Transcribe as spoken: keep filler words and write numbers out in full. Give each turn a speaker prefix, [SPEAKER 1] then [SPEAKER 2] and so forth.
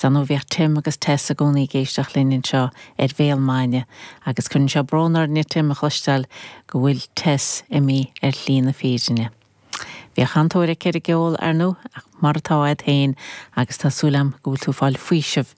[SPEAKER 1] San bheith Tim agus Tess i gcónaí ag éisteacht linn anseo ar Bhéal Maidine agus cuireann sé brón orainne Tim a chloisteáil go bhfuil Tess imithe ar shlí na fírinne. Bhíodh an-tóir aici ar an gceol ar ndóigh ach mar atá agat féin agus tá súil agam go bhfuil tú ag fáil faoiseamh